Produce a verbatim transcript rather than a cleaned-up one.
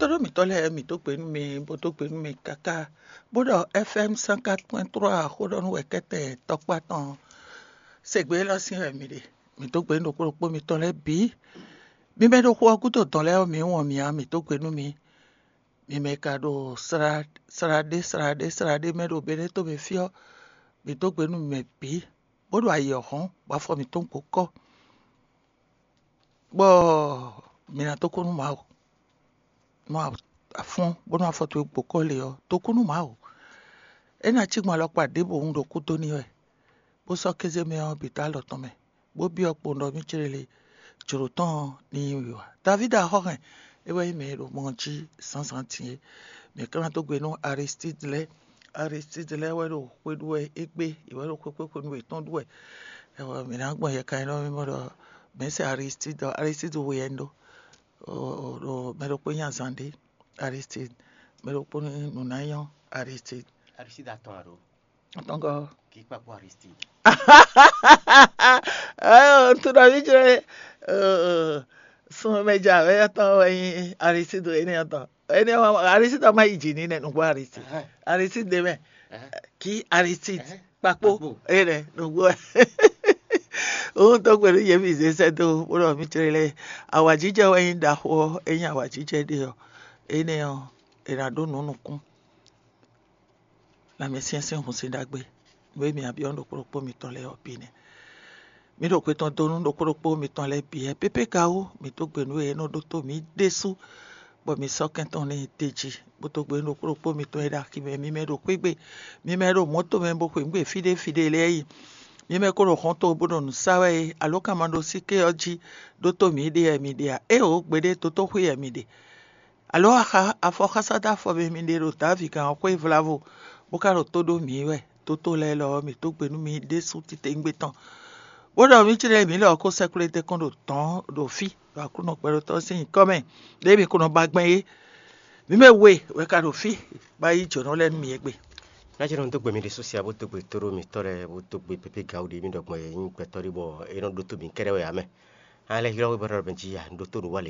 Tóɖó mǐtɔn lɛ́ɛ, mǐ dó gbe nú mi, bó dó gbe nú mi káká, bó ɖɔ F M cent quatre point trois xó ɖɔ nú wɛ kɛ́tɛn tɔkpá tɔn. Sɛgbɛ élɔ́ sín wɛ mi ɖe. Mǐ dó gbe nú ɖokpó ɖokpó mitɔn lɛ́ɛ bǐ. Mi mɛ ɖo xu ɔ́ gúdo dɔn lɛ́ɛ ɔ́, mǐ wɔn mǐ ǎ, mǐ dó gbe nú mi. Mi mɛ ka ɖo sla sla ɖé sla ɖé sla ɖé mɛ ɖo Benɛ́ to mɛ fí ɔ́, mǐ dó gbe nú mi mɛ bǐ, bó ɖo ayǐ ɔ́ hɔ́n, bɔ afɔ mǐtɔn gbo kɔ́, bɔ mǐ ná dó kú nú Mawu. Nú a fɔ́n bónú afɔ towe gbo kɔ́ lě ɔ́, dó kú nú Mawu. É ná cí gbɔn alɔkpa ɖěbǔ un ɖo kú dó n'i wɛ, bó sɔ́ kéze mɛ ɔ́ bǐ dó alɔ tɔn mɛ, bó byɔ́ kpowun ɖɔ mì céɖéle jlǒ tɔn ɔ́ ní nyí wiwa. Davídi axɔ́hɛn, é wɛ nyí mɛ e ɖo mɔ ɔ́ jí zǎnzǎn din é. Mǐ ka ná dó gbe nú Aristídi lɛ́ɛ. Aristídi lɛ́ɛ wɛ ɖo xwé ɖu wɛ égbé, yě wɛ ɖo xwé xwé xwenu yětɔn ɖu wɛ. Ɛwɔ mǐ ná gbɔn yɛ kan e nɔ mì mɔ ɖɔ mɛ̌si Aristídi ɔ́, Aristídi we wɛ un ɖó. Ɖo mɛ ɖokpó nyi azǎn ɖé, Aristide. Mɛ ɖokpó nyi nǔnáyɔ, Aristide. Aristide atɔn alo? Atɔngɔ. Kì í kpakpó Aristide. Ntúɖɔví jlɛ sɔmɛmɛjà wɛ atɔn wɛ nyi Aristide énɛ́ atɔn. Énɛ́ Aristide ɔ́ má yi jǐ ní nɛ nǔgbó Aristide. Aristide ɖé mɛ. Kì í Aristide kpakpó. Énɛ́ nǔgbó. Òun tó gbe nú yě mì zé sɛ́ dó bó ɖɔ mì tlélé. Awǎjijɛ wɛ nyí ɖaxó ɔ́, é nyí awǎjijɛ ɖé ɔ́, énɛ́ ɔ́, è nǎ ɖó nǔ nukún. Lanmɛsyɛ́n sín hun sín ɖagbe, nǔ e mǐ byɔ́ ɖokpó ɖokpó mitɔn lɛ́ɛ ɔ́ bǐ nɛ́. Mǐ ɖo xwe tɔn dó nú ɖokpó ɖokpó mitɔn lɛ́ɛ bǐ wɛ pépé ka wú, mǐ dó gbe nǔ e é nɔ ɖótó mǐ ɖésú, bɔ mǐ sɔ́ kɛn tɔn n'i d'é jí, bó dó gbe nú ɖokpó ɖokpó mitɔn e ɖo axi mɛ, mi mɛ ɖo xwé gbe, mi mɛ ɖo mɔ̌to mɛ bó xweyǐgbe fí ɖé fí ɖé lɛ́ɛ yi, mi mɛ ko ɖo hɔnto bó ɖo nǔ sa wɛ é, alǒkanmaɖósíké ɔ́ jí ɖótó mǐ ɖe wɛ mi ɖe a? Éeǒ, gbeɖé dotóxwé wɛ mi ɖe. Alǒ axa afɔxása dó afɔ mɛ mi ɖe ɖo Dǎvi gǎn ɔ́ xwé vlavo, bó ka ɖo tó ɖó mǐ wɛ. Dótó lɛ́ɛ lɔ ɔ́, mǐ dó gbe nú mi ɖésú titewungbe tɔn, bó ɖɔ mǐ jlɛ́ mǐ lɔ ɔ́ kó sɛ́ kplé dɛ́ kɔn ɖo dɔ̌n ɖo fí ɖo Aklúnɔ gbɛɖótɔ́ sín nyǐkɔ mɛ, ɖěe mǐ ko nɔ ba gbɛn é. Mǐ mɛ we wɛ ka ɖo fí, bó ná yí jǒnɔ lɛ́ɛ nú mi égbé. Ná jɛ nɔ dó gbe mi ɖésú sia bó dó gbe tóɖó mitɔ́ lɛ́ɛ bó dó gbe pépé gawu ɖě mì ɖɔ gbɔn e nyí gbɛtɔ́ ɖé bɔ é nɔ ɖótó mǐ kɛ́ɖɛ́ wɛ ǎ mɛ. A lɛ́ ylɔ́ we bó ɖɔ mɛ jí ya, un ɖótó nǔ wa lě